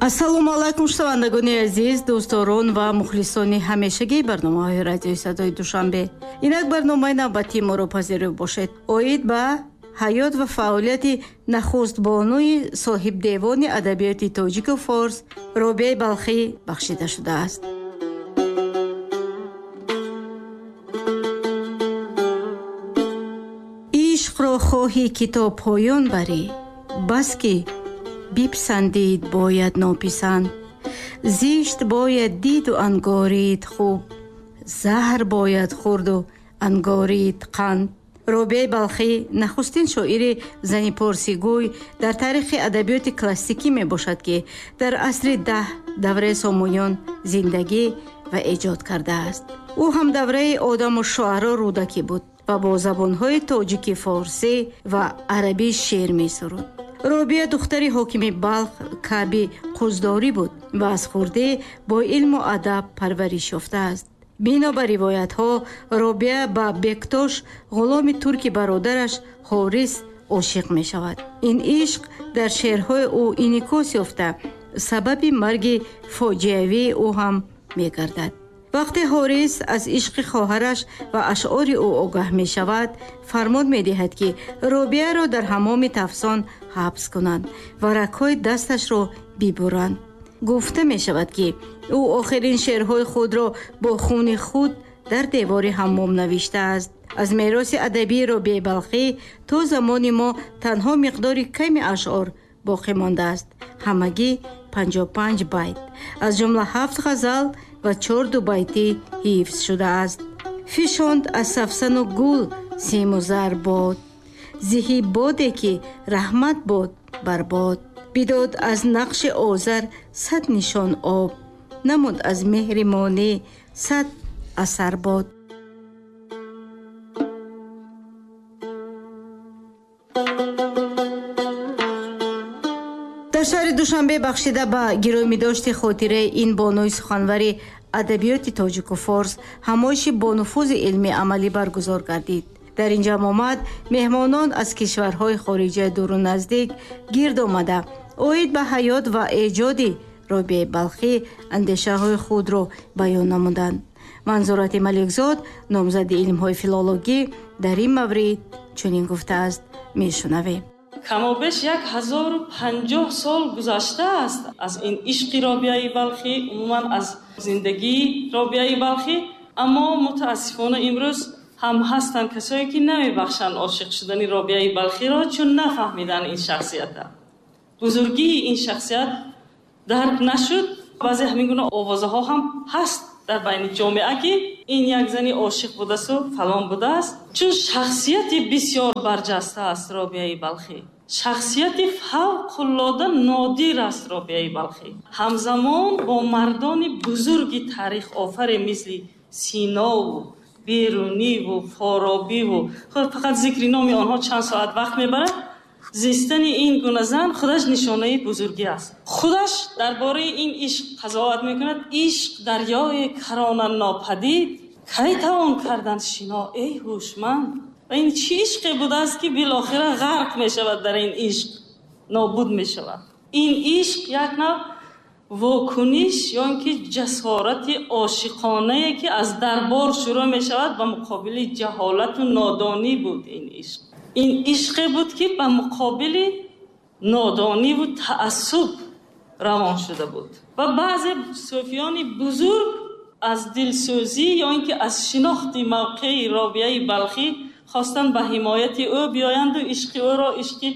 Ассалому алайкум, шунавандагони азиз, дӯстдорон ва мухлисони ҳамешагии барномаҳои радиои садои Душанбе. Инак барномаи навбатии моро пазируф бошед. Оид ба ҳаёт ва фаъолияти нахустбонуи соҳибдевони адабиёти тоҷику форс Робиаи Балхӣ бахшида шудааст. Ишқро хоҳӣ ки то поён барӣ, бас ки биписандид бояд нописанд, зишт бояд диду ангорид хуб, заҳр бояд хӯрду ангорид қанд. Робиаи Балхӣ нахустин шоири зани порсигӯй дар таърихи адабиёти классикӣ мебошад, ки дар асри 10 давраи Сомониён зиндагӣ ва эҷод кардааст. Ӯ ҳам давраи одаму шуаро Рӯдакӣ буд ва бо забонҳои тоҷики, форсӣ ва арабӣ шеър месуруд. Робия духтари ҳокими Балх Каъби Қуздорӣ буд ва аз хурдӣ бо илму адаб парвариш ёфтааст. Бино ба ривоятҳо, Робия ба Бектош, ғуломи турки бародараш Ҳорис, ошиқ мешавад. Ин ишқ дар шеърҳои ӯ инъикос ёфта, сабаби марги фоҷиавии ӯ ҳам мегардад. Вақте Ҳорис аз ишқи хоҳараш ва ашъори ӯ огаҳ мешавад, фармон медиҳад, ки Робияро дар ҳамоми тафсон ҳабс кунанд ва рагҳои дасташро бибуранд. Гуфта мешавад, ки ӯ охирин шеърҳои худро бо хуни худ дар девори ҳаммом навиштааст. Аз мероси адабии Робиаи Балхӣ то замони мо танҳо миқдори ками ашъор боқӣ мондааст, ҳамагӣ 55 байт, аз ҷумла 7 ғазал ва 4 дубайтӣ ҳифз шудааст. Фишонд аз сафсану гул симу зар бод, зиҳи боде ки раҳмат бод бар бод. Бидод аз нақши озар 100 нишон об, намуд аз меҳри монӣ 100 асар бод. Дар шаҳри Душанбе бахшида ба гиромидошти хотираи ин бонуи суханвари адабиёти тоҷику форс ҳамоиши бонуфузи илмии амалӣ баргузор гардид. Дар ин ҷамъомад меҳмонон аз кишварҳои хориҷаи дуру наздик гирд омада, оид ба ҳаёт ва эҷоди Робиаи Балхӣ андешаҳои худро баён намуданд. Манзурати Маликзод, номзади илмҳои филологӣ, дар ин маврид чунин гуфтааст. Мешунавем. Камобеш 1050 сол гузаштааст аз ин ишқи Робиаи Балхӣ, умуман аз зиндагии Робиаи Балхӣ, аммо мутаассифона имрӯз ҳам ҳастанд касое ки намебахшанд ошиқ шудани Робиаи Балхиро, чун нафаҳмиданд ин шахсията. Бузургии ин шахсият дарк нашуд. Баъзе ҳамин гуна овозаҳо ҳам ҳаст дар байни ҷомеа, ки ин як зани ошиқ будасту фалон будааст, чун шахсияти бисёр барҷаста аст Робиаи Балхӣ. Шахсияти фавқулода нодир аст Робиаи Балхӣ. Ҳамзамон бо мардони бузурги таърихофаре мисли Синову Беруниву Форобиву, худ фақат зикри номи онҳо чанд соат вақт мебарад, зистани ин гуна зан худаш нишонаи бузургӣ аст. Худаш дар бораи ин ишқ қазоват мекунад. Ишқ дарёи карона нопадид, кай тавон кардан шино эй ҳушманд. Ва ин чӣ ишқе будааст, ки билохира ғарқ мешавад дар ин ишқ, нобуд мешавад. Ин ишқ як нав вокуниш ё ин ки ҷасорати ошиқонае, ки аз дарбор шурӯъ мешавад ба муқобили ҷаҳолату нодонӣ буд ин ишқ. Ин ишқе буд, ки ба муқобили нодониву таассуб равон шуда буд. Ва баъзе сӯфиёни бузург аз дилсӯзӣ ё ин ки аз шинохти мавқеи Робиаи Балхӣ хостанд ба ҳимояти ӯ биёянду ишқи ӯро ишқи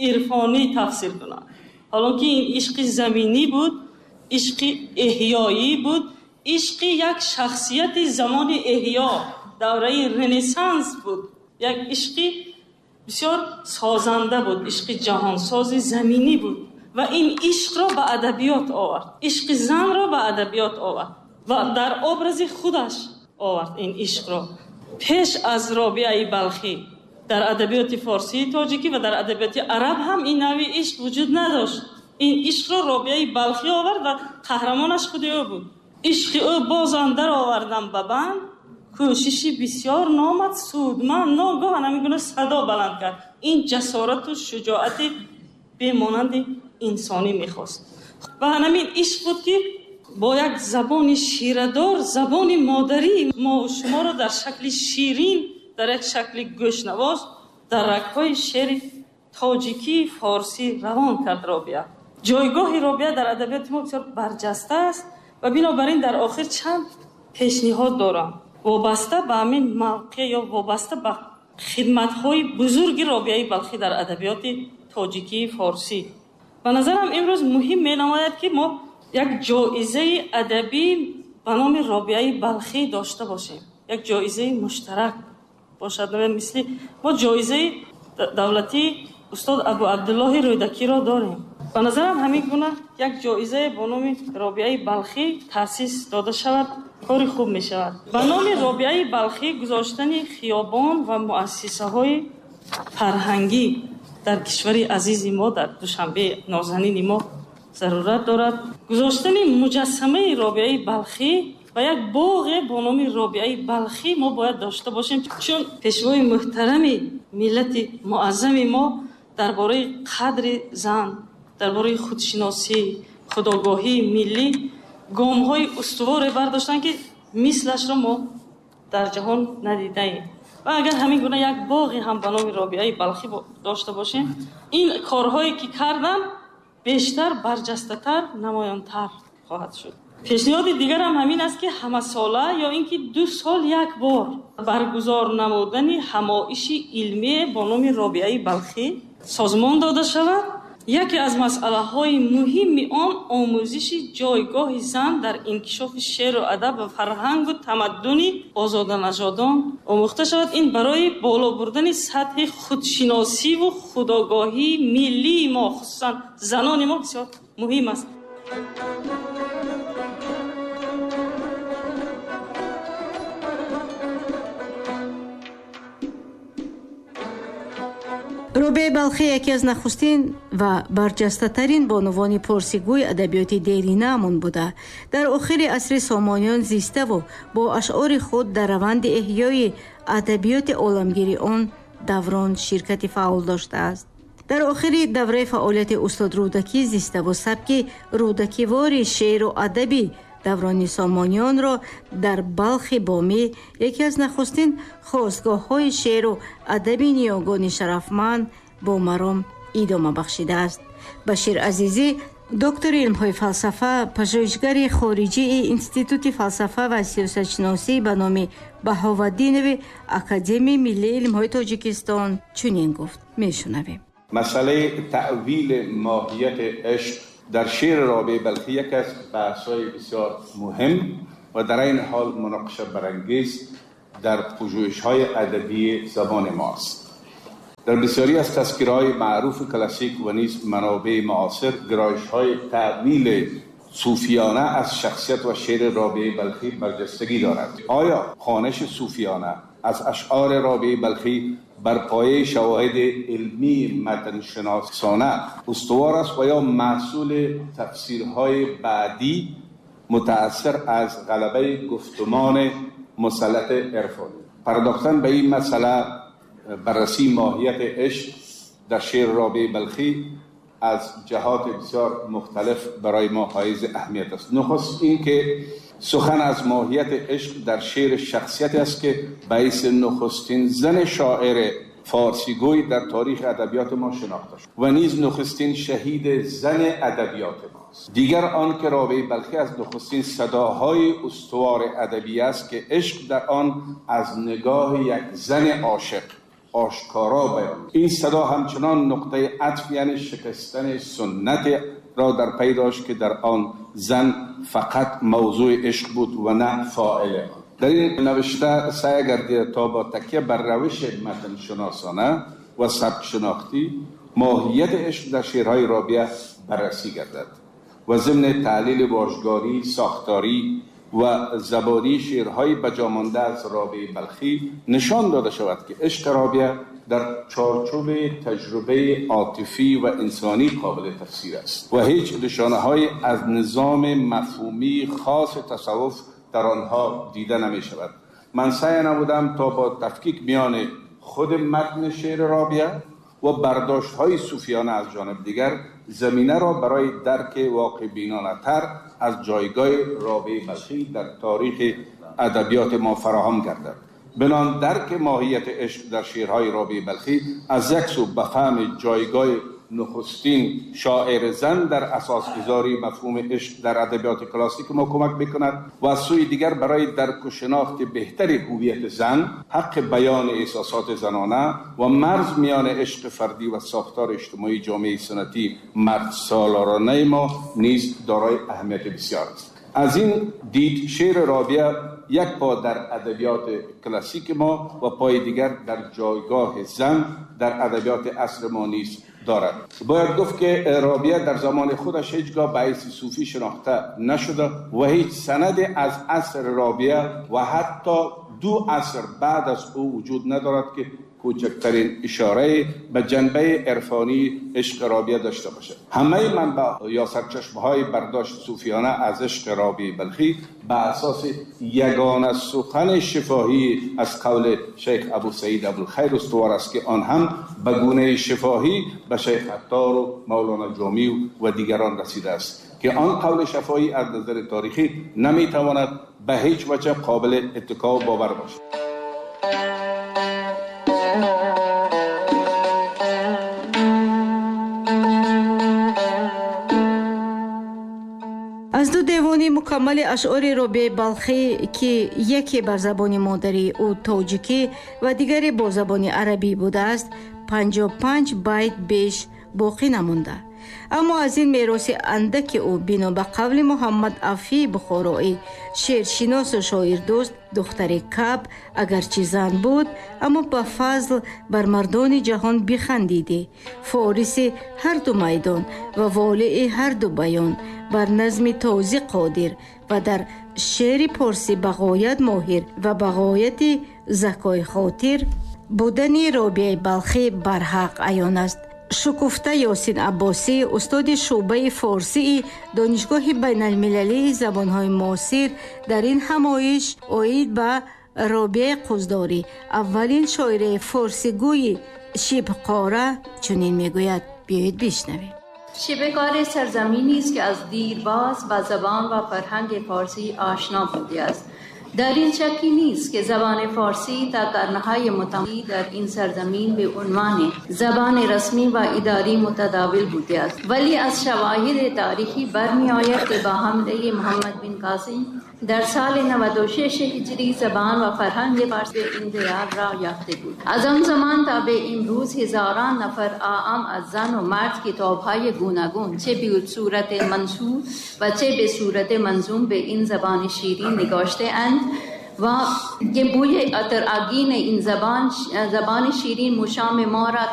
ирфонӣ тафсир кунанд. Ҳолон ки ин ишқи заминӣ буд, ишқи эҳёӣ буд, ишқи як шахсияти замони эҳё, давраи Ренессанс буд, як ишқи бисёр созанда буд, ишқи ҷаҳонсози заминӣ буд ва ин ишқро ба адабиёт овард, ишқи занро ба адабиёт овард ва дар образи худаш овард ин ишқро. Пеш аз Робиаи Балхӣ дар адабиёти форсии тоҷикӣ ва дар адабиёти араб ҳам ин нави ишқ вуҷуд надошт. Ин ишқро Робиаи Балхӣ овард ва қаҳрамонаш худи ӯ буд. Ишқи ӯ бозам даровардам ба банд, кӯшиши бисёр номад судманд. Ногоҳ ҳамин гуна садо баланд кард. Ин ҷасорату шуҷоати бемонанди инсонӣ мехост. Ва ҳамин ишқ буд, ки бо як забони ширадор, забони модарии мо ва шуморо дар шакли ширин, дар як шакли гӯшнавоз, дар рагҳои шеъри тоҷикии форсӣ равон кард Робиа. Ҷойгоҳи Робиа дар адабиёти мо бисёр барҷаста аст ва бинобар ин дар охир чанд пешниҳод дорам вобаста ба ҳамин мавқеъ ё вобаста ба хидматҳои бузурги Робиаи Балхӣ дар адабиёти тоҷикии форсӣ. Ба назарам имрӯз муҳим менамояд, ки мо як ҷоизаи адабӣ ба номи Робиаи Балхӣ дошта бошем, як ҷоизаи муштарак бошад. Мисли мо ҷоизаи давлатии устод Абу Абдуллоҳи Рӯдакиро дорем. Ба назарам ҳамин гуна як ҷоизае бо номи Робиаи Балхӣ таъсис дода шавад, кори хуб мешавад. Ба номи Робиаи Балхӣ гузоштани хиёбон ва муассисаҳои фарҳангӣ дар кишвари азизи мо, дар Душанбе нозанини мо зарурат дорад. Гузоштани муҷассамаи Робиаи Балхӣ ва як боғе бо номи Робиаи Балхӣ мо бояд дошта бошем, чун пешвои муҳтарами миллати муаззами мо дар бораи қадри зан, дар бораи худшиносӣ, худогоҳии миллӣ гомҳои устуворе бардоштанд, ки мислашро мо дар ҷаҳон надидаем. Ва агар ҳамин гуна як боғе ҳам ба номи Робиаи Балхӣ дошта бошем, ин корҳое ки кардам бештар барҷастатар, намоёнтар хоҳад шуд. Пешниҳоди дигарам ҳамин аст, ки ҳамасола ё ин ки 2 сол як бор баргузор намудани ҳамоиши илмӣ бо номи Робиаи Балхӣ созмон дода шавад. Яке аз масъалаҳои муҳими он омӯзиши ҷойгоҳи зан дар инкишофи шеъру адаб ва фарҳангу тамаддуни озоданажодон омӯхта шавад. Ин барои боло бурдани сатҳи худшиносиву худогоҳии миллии мо, хусусан занони мо, бисёр муҳим аст. Робиаи Балхӣ яке аз нахустин ва барҷастатарин бонувони порсигӯи адабиёти деринаамон буда. Дар охири асри Сомониён зиставу бо ашъори худ дар раванди эҳёи адабиёти оламгири он даврон ширкати фаъол доштааст. Дар охири давраи фаъолияти устод Рӯдакӣ зиставу сабки рӯдакивори шеъру адаби даврони Сомониёнро дар Балхи Бомӣ яке аз нахустин хостгоҳҳои шеъру адаби ниёгони шарафманд бо маром идома бахшидааст. Башир Азизӣ, доктори илмҳои фалсафа, пажӯҳишгари хориҷии Институти фалсафа ва сиёсатшиносӣ ба номи Баҳоваддинови Академияи миллии илмҳои Тоҷикистон чунин гуфт. Мешунавем. масъалаи таъвили моҳияти ишқ дар шеъри Робиаи Балхӣ яке аз баҳсҳои бисёр муҳим ва дар ин ҳол муноқиша барангез дар пажӯҳишҳои адабии забони мост. Дар бисёре аз тазкираҳои маъруфи классик ва низ манобеи муосир гиройишҳои таъвили сӯфиёна аз шахсият ва шеъри Робиаи Балхӣ барҷастагӣ дорад. Оё хониши сӯфиёна аз ашъори Робиаи Балхӣ бар пояи шавоҳиди илмии матншиносона устувор аст ва ё маҳсули тафсирҳои баъдӣ мутаассир аз ғалабаи гуфтумони مسلط عرفانی؟ پرداختن به این مسئله، بررسی ماهیت عشق در شعر رابعه بلخی از جهات بسیار مختلف برای ما حائز اهمیت است. نخست این که سخن از ماهیت عشق در شعر شخصیت است که باعث نخستین زن شاعر فارسیگوی در تاریخ ادبیات ما شناخته شد و نیز نخستین شهید زن ادبیات ماست. دیگر آن که رابعه بلخی از نخستین صداهای استوار ادبی است که عشق در آن از نگاه یک زن عاشق آشکارا بیان. این صدا همچنان نقطه عطف یعنی شکستن سنت را در پی داشت که در آن زن فقط موضوع عشق بود و نه فاعل آن. در این نوشته سعی گردیده تا با تکیه بر روش متن شناسانه و سبک شناختی ماهیت عشق در شعرهای رابعه بررسی گردد و ضمن تحلیل واژگانی، ساختاری و زبانی شعرهای بجامانده از رابعه بلخی نشان داده شود که عشق رابعه در چارچوب تجربه عاطفی و انسانی قابل تفسیر است و هیچ نشانه‌های از نظام مفهومی خاص تصوف در آنها دیده نمی شود. من سعی نمودم تا با تفکیک میان خود متن شعر رابعه و برداشت‌های صوفیانه از جانب دیگر زمینه را برای درک واقع بینانه تر از جایگاه رابعه بلخی در تاریخ ادبیات ما فراهم گردد. بنان درک ماهیت عشق در شعرهای رابعه بلخی از یک سو به فهم جایگاه نخستین شاعر زن در اساسگذاری مفهوم عشق در ادبیات کلاسیک ما کمک میکند و از سوی دیگر برای درک و شناخت بهتر هویت زن، حق بیان احساسات زنانه و مرز میان عشق فردی و ساختار اجتماعی جامعه سنتی مرد سالارانه ما نیز دارای اهمیت بسیار است. از این دید شعر رابعه یک پا در ادبیات کلاسیک ما و پای دیگر در جایگاه زن در ادبیات عصر ما نیز دارد. باید گفت که رابعه در زمان خودش هیچگاه به حیث صوفی شناخته نشده و هیچ سند از عصر رابعه و حتی 2 عصر بعد از او وجود ندارد که کوچکترین اشاره به جنبه عرفانی عشق رابعه داشته باشد. همه منبع یا سرچشمه‌های برداشت صوفیانه از عشق رابعه بلخی به اساس یگانه سخن شفاهی از قول شیخ ابو سعید ابوالخیر استوار است که آن هم به گونه شفاهی به شیخ عطار و مولانا جامی و دیگران رسیده است که آن قول شفاهی از نظر تاریخی نمیتواند به هیچ وجه قابل اتکا و باور باشد. Аз 2 девони мукаммали ашъори Робиаи Балхӣ, ки яке бар забони модарии ӯ тоҷикӣ ва дигаре бо забони арабӣ будааст, 55 байт беш боқӣ намонда. Аммо аз ин мероси андаки ӯ бино ба қавли Муҳаммад Афии Бухороӣ, шеършиносу шоирдӯст, духтари Каб агарчи зан буд, аммо ба фазл бар мардони ҷаҳон бихандидӣ, фориси ҳар ду майдон ва волии ҳар ду баён, бар назми тозӣ қодир ва дар шеъри порсӣ ба ғоят моҳир ва ба ғояти закои хотир будани Робиаи Балхӣ барҳақ аён аст. Шукуфта Ёсин Аббосӣ, устоди шӯъбаи форсии Донишгоҳи байналмилалии забонҳои муосир, дар ин ҳамоиш оид ба Робиаи Қуздорӣ, аввалин шоираи форсигӯи шибқора, чунин мегӯяд. Биёед бишнавем. شبه‌قاره سرزمینی است که از دیرباز با زبان و فرهنگ فارسی آشنا بوده است. در این شکی نیست که زبان فارسی تا قرن‌های متمادی در این سرزمین به عنوان زبان رسمی و اداری متداول بوده است، ولی از شواهد تاریخی برمی آید که با حمله محمد بن قاسم در سال 96 هجری زبان و فرهنگ فارسی به این دیار را یافته بود. از آن زمان تا به امروز هزاران نفر عام از زن و مرد کتاب‌های گوناگون چه به صورت منثور و چه به صورت منظوم به این زبان شیرین نگاشته اند و بوی عطرآگین این زبان شیرین مشام ما را